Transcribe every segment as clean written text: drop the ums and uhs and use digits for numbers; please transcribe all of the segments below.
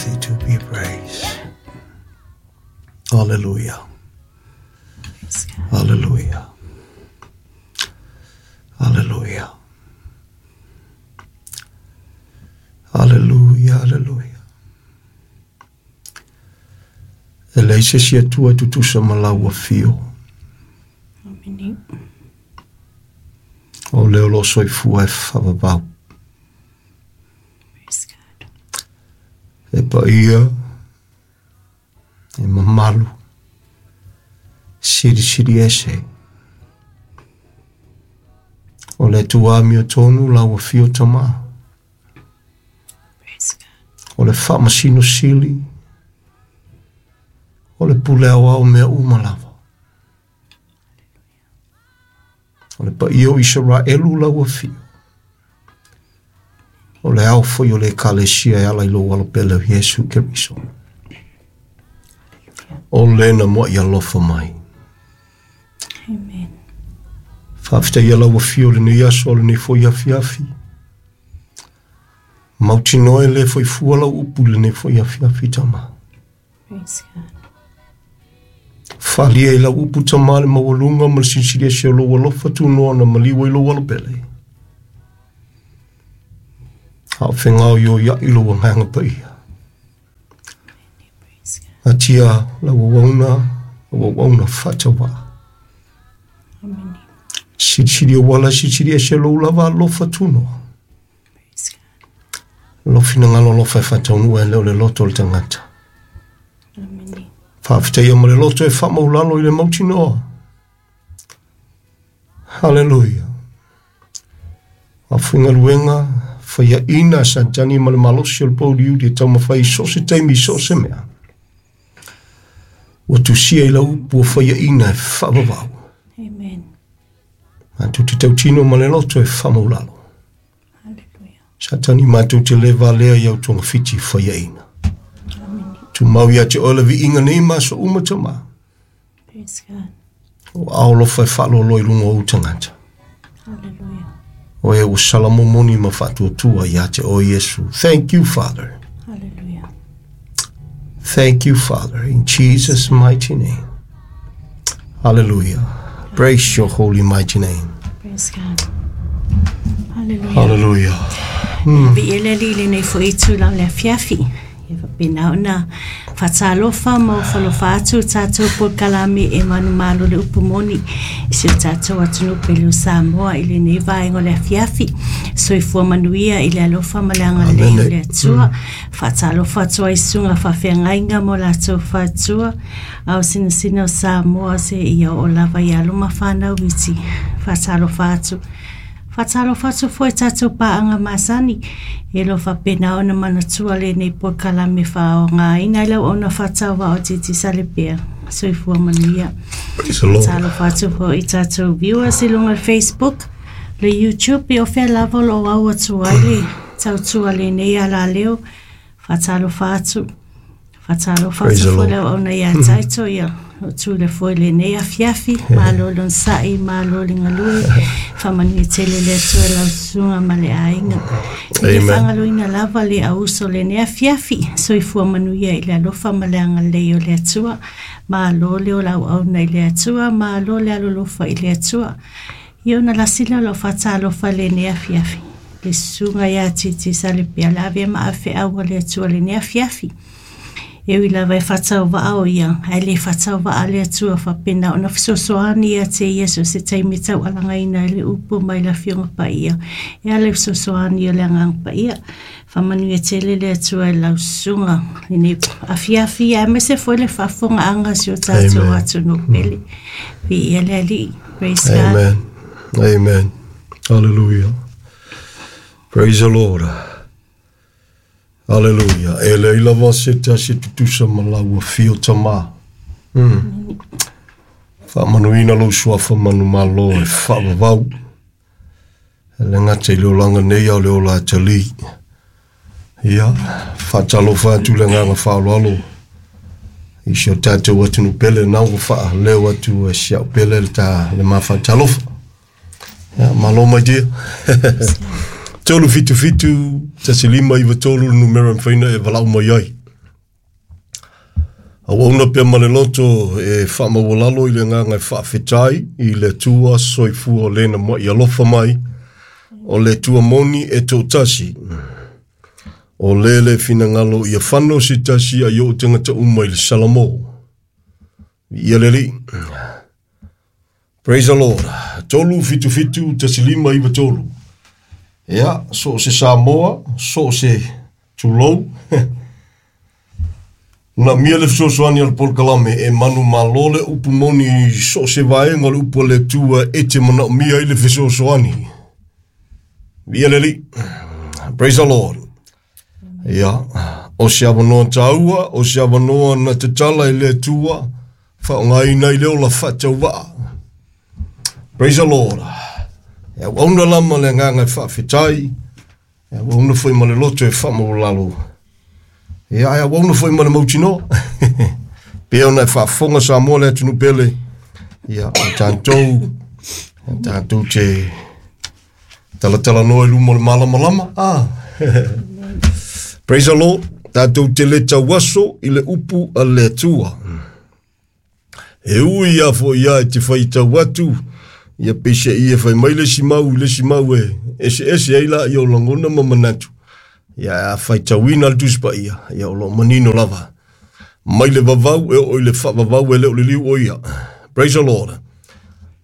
worthy to be praised. Hallelujah. Hallelujah. Hallelujah. Hallelujah, hallelujah. E leai se isi Atua e tutusa ma lau afio. Amene. O le o lo o soifua e faavavau. Praise God. E paia, e mamalu, silisili ese. O le Atua amiotonu lau afio Tama. Praise God. O le faamasino sili, o le pule aoao mea uma lava. O le paia o Isaraelu lau afio. O le ao foi o le Ekalesia e ala i lou alopele o Iesu Keriso. O lena mua'i alofa mai. Amen. Faafetaia lau afio i lenei aso, lenei foi afiafi. Mautinoa e le foi fua lau upu i lenei foi afiafi, Tama. Praise God. Faaalia i lau upu, Tama, le maualuga ma le silisili ese o lou alofa tunoa na maliu ai lou alopele. A o fegaoioia'i lou agaga paia. Praise God. Atia lau auauna, lau auauna faatauvaa. Amene. Silisili auala, silisili ese lou lava alofa tunoa. Praise God. Lou finagalo alofa e faataunuu e le o le loto o le tagata. Amene. Faafetaia ma le loto e faamaulalo i le mautinoa. Haleluia. Aufaigaluega faiaina a Satani ma le malosi o le pouliuli e taumafai i so o se taimi i so o se mea. Ua tusia i lau upu ua faiaina e faavavau. Amen. Matou te tautino ma le loto e faamaulalo. Hallelujah. Satani matou te le valea i au togafiti faiaina. Amene. Tumau ia te oe le viiga nei ma aso uma, Tama. Praise God. O aao alofa e faaloaloa i luga o ou tagata. Hallelujah. O e ua salamomoni ma faatuatua ia te oe Iesu. Thank you, Father. Hallelujah. Thank you, Father, in Jesus' mighty name. Hallelujah. Praise your holy mighty name. Praise God. Hallelujah. Hallelujah. Viia le Alii i lenei foi itula o le afiafi. Ia faapena ona faatalofa ma ofalofa atu tatou polokalame e manumalo le upu moni i si o tatou atunuu pele o Samoa i lenei vaega o le afiafi. Soifua manuia i le alofa ma le agalelei o le Atua. Faatalofa atu ai i susuga faafeagaiga mo latou faletua ao sinasina o Samoa seia oo lava i alo ma fanau iti. Faatalofa atu. Faatalofa atu foi i tatou paaga masani e lo faapena ona manatua lenei polokalame faaaogaina i lau auauna faatauvaa o Titi Salepea. Soifua manuia. Praise the Lord. Faatalofa atu foi i tatou viewers i luga o le Facebook, le YouTube, o fea lava o lo o au atu ai le tautua lenei alaleo. Faatalofa atu. Faatalofa Praise atu the foi Lord. le auauna ia Taito, ia o tule foi lenei afiafi, malo le onosai, malo le galue, faamanuia tele le Atua i lau susuga ma le aiga. E le Amen. faagaloina lava le auso lenei afiafi, soifua manuia i le alofa ma le agalelei o le Atua, malo le olauauna i le Atua, malo le alolofa i le Atua. Ia ona lasi lea o lau faatalofa lenei afiafi. Le susuga ia Titi Salepea le ave ma afeau a le Atua lenei afiafi. E ui lava e faatauvaa o ia, ae le faatauvaa le Atua faapena ona fesoasoani ia te ia so o se taimi taualagaina ai le upu mai le Afioga Paia. E ala i fesoasoani o le Agaga Paia. Faamanuia tele le Atua i lau susuga lenei afiafi, aemaise foi le faafofogaaga a si o tatou Amen. atunuu pele. Viia le Alii. Praise God. Amen. Amen. Hallelujah. Praise the Lord. Hallelujah. E leai lava se tasi e tutusa ma lau afio Tama. Faamanuina lou suafa manumalo e faavavau. E le gata i le olaga nei a o le ola atalī. Ia, faatalofa atu le agaga faaaloalo i si o tatou atunuu pele na ua faaleo atu e si au pele le ta le mafaatalofa. Ia, malo mai dia. 377 1593 le numera e mafai ona e valaau mai ai. Auauna pea ma le loto e faamaualalo i le agaga e faafetai i le Atua soifua o lena mai alofa mai, o le Atua moni e toatasi. O le le finagalo ia fano se tasi a i oo tagata uma i le Salamo. Ia le Alii. Praise the Lord. 3 7 7 1 5 9 3. Ia, so o se Samoa, so o se tulou. Na mia le fesoasoani a le polokalame e manumalo le upu moni so o se vaega o le upu a le Atua e te manaomia ai le fesoasoani. Ia le Alii. Praise the Lord. Ia, o se avanoa taua, o se avanoa na tatala i le Atua, faaaogaina ai le ola faatauvaa. Praise the Lord. E auauna lama le agaga e faafetai, e auauna foi ma le loto e faamaualalo. Ia, e auauna foi ma le mautinoa. Pe ona e faafofoga Samoa le atunuu pele, ia, o tatou, tatou te talatalanoa i luma o le malamalama. Ah. Praise the Lord. Tatou te le tauaso i le upu a le Atua. E ui a foi ia e te faitau atu, ia peiseai e fai mai le isi mau i le isi mau e eseese ai laia o lagona ma manatu. Ia a faitauina le Tusi Paia, ia o lo o manino lava. Mai le vavau e oo i le faavavau e le o le liu o ia. Praise the Lord.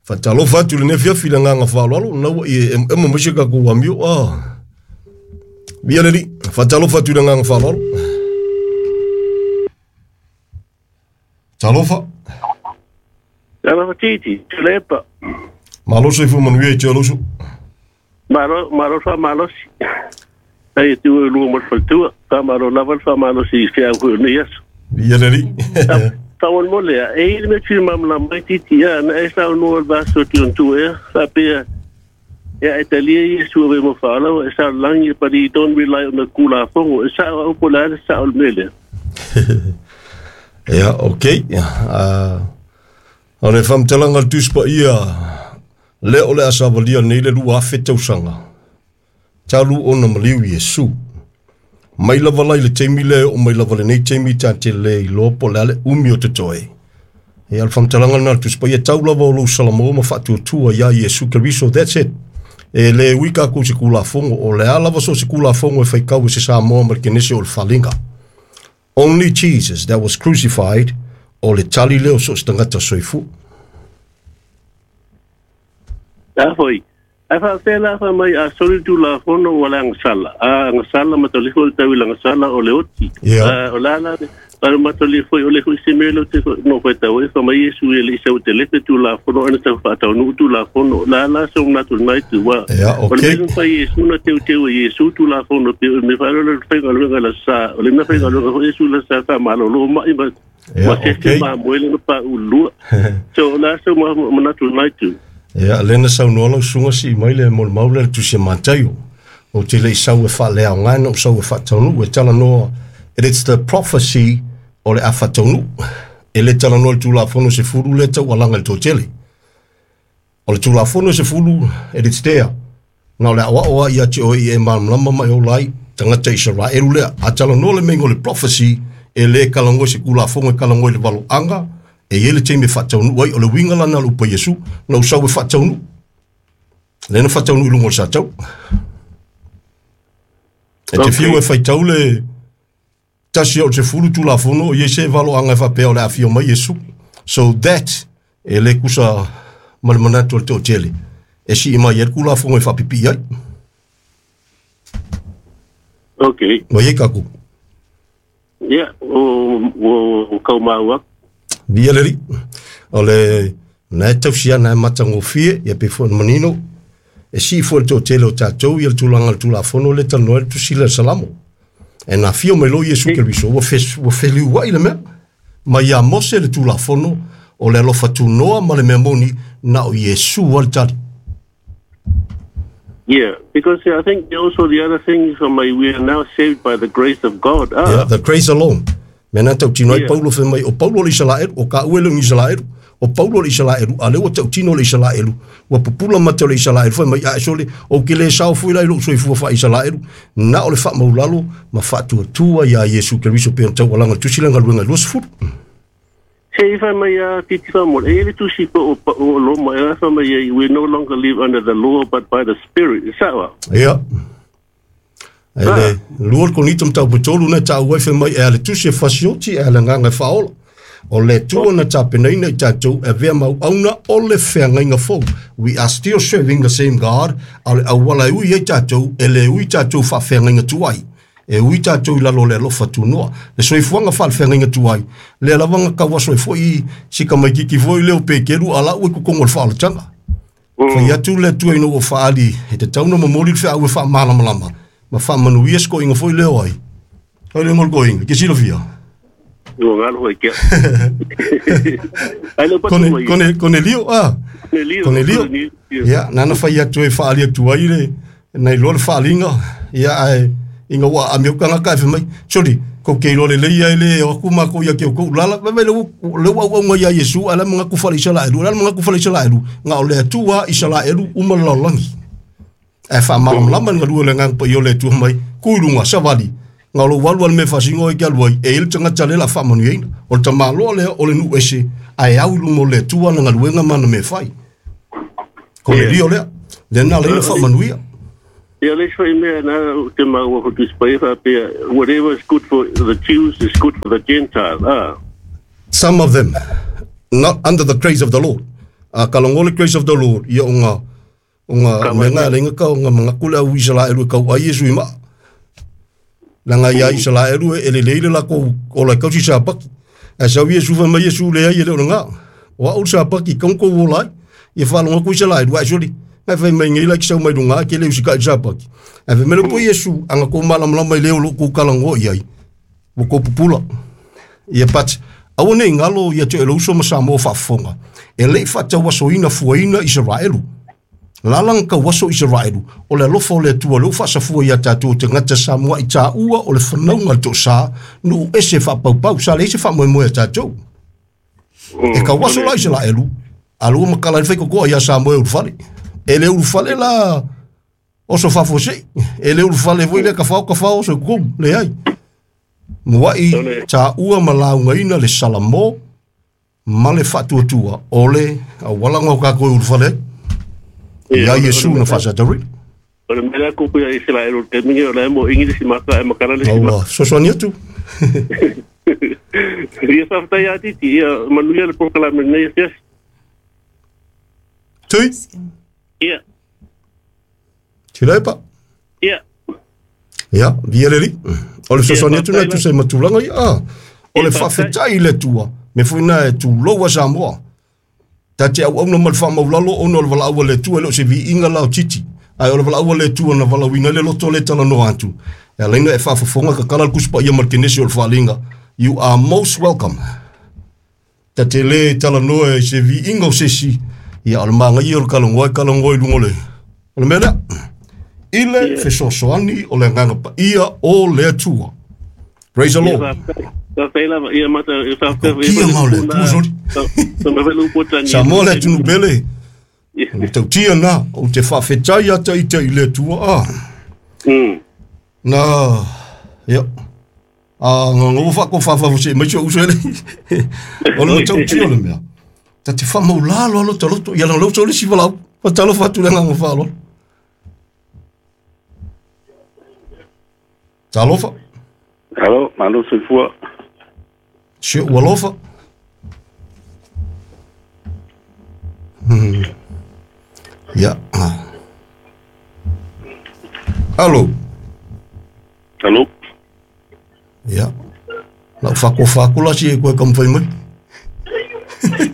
Faatalofa atu i lenei afiafi i le agaga faaaloalo, na ua i e emoemo mai se tatou amio. Ah. Via le Alii. Faatalofa atu i le agaga faaaloalo. Talofa. Talofa Titi, Tulepa. Malo soifua manuia i te aloso. Malo, malo faamalosi. Ai e tu e lua mo le faletua. Faamalo lava le faamalosi i se au foi o nei aso. Via le Alii. Faamolemole a, e i le mea fia malamalama mai Titi, ia, na e saunoa le vaso ti on tu ea, faapea, ia e talia Iesu ave mo faalawa, e sa langi, but he don't rely on the kulafono. E sa au po le ale sa o le mea lea. Ia, okay. O le faamatalaga a le Tusi Paia, lea o le a savalia nei le 2000 tausaga, talu ona maliu Iesu. Mai lava la i le taimi lea e oo mai lava lenei taimi ta te le iloa po o le a le umi o totoe. Ia, o le faamatalaga lena a le Tusi Paia, tau lava o lou Salamo ma faatuatua iā Iesu Keriso, that's it. E le ui tatou i se Tulafono, o le a lava so o se Tulafono e faitau e se Samoa ma le Kenese o le faliga. Only Jesus that was crucified, o le tali lea o so o se tagata soifua. A foi. Ae faapea la fa mai a soli Tulafono ua le agasala. A agasala matolifo le tau i le agasala o le oti. A o la la le matolifo o le foi se mea leo te no foi tau e fa mai Iesu e le isa o te lepe Tulafono ana tau faataunuu Tulafono. La la so ngatu nai tu wa. O le mea fai Iesu na teu teu e Iesu Tulafono pe o me fa le fai galuega la sa. O le mea fai galuega foi Iesu la sa fa malolo mai ma ma se se ma moele na pa ulua. So la so ma manatu nai tu. Ia, lea na saunoa lau susuga sii mai le molimau lea i le Tusi a Mataio. Ou te le i sau e faaleaoga na ou sau e faataunuu e talanoa. It is the prophecy o le a faataunuu. E le talanoa i le Tulafono 10 lea taualaga i le toatele. O le Tulafono 10, it is there. Na o le aoao lava ia te oe ia e malamalama ma e ola ai tagata Isaraelu lea. A talanoa le meiga o le prophecy, e le talanoa i se Tulafono e talanoa i le valoaga, e i ai le taimi e faataunuu ai. O le uiga la lena o le upu a Iesu, na ou sau e faataunuu. Lea na faataunuu i luga o le satau. E te fiu e faitau le tasi o le 10 Tulafono, o i ai se valoaga e faapea o le a afio mai Iesu. So that, e le tusa ma le manatu o le toatele, e sii mai ai le Tulafono e faapipii ai. Ua i ai tatou. Ia, o kau mau aku. Via le Alii. O le na e tausi ana e matagofie, ia pe foi ona manino, e sii foi le toatele o tatou ia le tulaga o le Tulafono lea e talanoa ai le Tusi lea o le Salamo. E na afio mai loa Iesu Keriso, ua ua feliuai le mea. Mai ia Mose le Tulafono, o le alofa tunoa ma le mea moni, na o Iesu lava le tali. Yeah, because I think also the other thing is we are now saved by the grace of God. Ah. Yeah, the grace alone. Mea na tautino ai Paulo fai mai, o Paulo le Isalaelu, o ka ue le Isalaelu, o Paulo le Isalaelu, a lea ua tautino le Isalaelu, ua pupula mata o le Isalaelu, fai mai, a e sole, ou ke le sao foi la i lou soifua faa-Isalaelu, na o le faamaulalo ma faatuatua iā Iesu Keriso pei ona taualaga i le Tusi lea Galuega 20. Se i wha mai a titi wha mo, e le tusi po o Roma, e wha mai we no longer live under the law but by the spirit. Is that what? Ia. E le lua Korinito mataupu 3 na tāua e mai e ale tusi e fasioti e ale nganga e whaola. O le tua na tapenaina i tātou e vea mau auna o le wheangainga fou. We are still serving the same God. A le awala e ui e tātou, e le ui tātou wha wheangainga tuai. E ui tātou i lalo le alofa tunoa. Le soifuanga wha le wheangainga tuai. Le alavanga kawaso e foi i sika mai kiki foi leo pekeru ala ue kukongo le whaolatanga. Whai atu le tua ino o whaali. E te tauna mamoli le whea ue wha malamalama. Ma wha manuia sko inga foi leo ai. Kai le ngol ko inga, ke silofia. Ua ngalo hoi kia. Ai le patu mai. Konelio, ah. Konelio. Ia, nana whai atu e whaali atu ai le, nei loa le whaalinga. Ia, ai, inga wa a meu kanga kai mai. Sorry, ko ke loa le lei ai le, o aku mako ia ke o kou lala. Mai le ua ua unga ia Yesu, ala mga kufala Israelu, ala mga kufala Israelu. Nga o le atua Israelu uma lalolangi. E wha malamalama nga lua le ngang pa i o le atua mai. Kuilunga, savali. Nga lo walu al me fasingo e ke aluai, e il tanga tale la wha manu eina. O le tamaloa lea o le nu ese, a e au lumo le atua na ngaluenga mana me whai. Ko le rio lea, le nā leina wha manuia. Ia le soi mea nā te maua hotu spai whapea, whatever is good for the Jews is good for the Gentiles. Ah. Some of them, not under the grace of the Lord. A kalongo le grace of the Lord, ia o ngā, mea ngā lenga ka o ngā mangakule au Israelu e kau ai Yesu i maa. Langa ia Israelu e le leile la ko o la kausi sa paki. A sa Yesu fa mai Yesu le ai le nga. O au sa paki kon ko wo lai. Ia fa longa ku Israelu ai soli. Ngai fai mai ngai la ki sau mai lunga ke le usi ka sa paki. A fe mele po Yesu anga ko malamalama i leo lo ku kalango i ai. Mo ko pupula. Ia pat au nei ngalo ia te lo uso ma sa mo fa fonga. E le fa ta wasoina fuaina Israelu. Lalang ka waso Israelu o le alofa o le Atua le faasafua ia tatou te gata Samoa i tāua o le fanauga le toʻasā nuu ese faapaupau sa leai se faamoemoe a tatou e ka waso la Israelu a lua makala ai le faikokoa iā Samoa e ulufale e le ulufale la oso faafuasei e le ulufale foi lea kafao kafao oso i kokomu leai moaʻi tāua ma laugaina le Salamo ma le faatuatua o le aualaga o kakou e ulufale ai. Ia Yesu na faasatari. O le mea kupu ia Israel o te mingi o le mo ingi si maka e makala le si maka. Sosoani atu. Ia whawhetai a titi, ia manuia le polokalame nei asiasi. Tui? Ia. Tilepa? Ia. Ia, via le li. O le sosoani atu na tu se matulanga ia. O le whawhetai le tua. Me fuina e tu loa Samoa. Ta te au auna ma le faamaulalo ona o le valaau a le Atua e le o se viiga la o titi. Ae o le valaau a le Atua na valauina ai le loto le talanoa atu. E alaina e faafofoga kakala le kusipaia ma le kenesi o le faaliga. You are most welcome. Ta te lē talanoa i se viiga o sesi. Ia o le magaia o le kalagoa e kalagoa i luga o le. O le mea lea. I le fesoasoani o le agaga paia o le Atua. Praise the Lord. Kia mau le Atua soli. Samoa le atunu pele. O tautia nā, o te whawhetai ata i te i le Atua. Ah. Nā, ia. A ngā ngā wha ko whawhawa se mai so uso ele. O le tautia o le mea. Ta te whamau lalo alo ta loto. Ia lang lauso le siwa lau. Whatalo whatu le ngā whaalo. Talofa. Alo, malo soifua. Se ua alofa. Ia. Alo. Alo. Ia. Lau whakofa aku la si e koe kamwhai mai.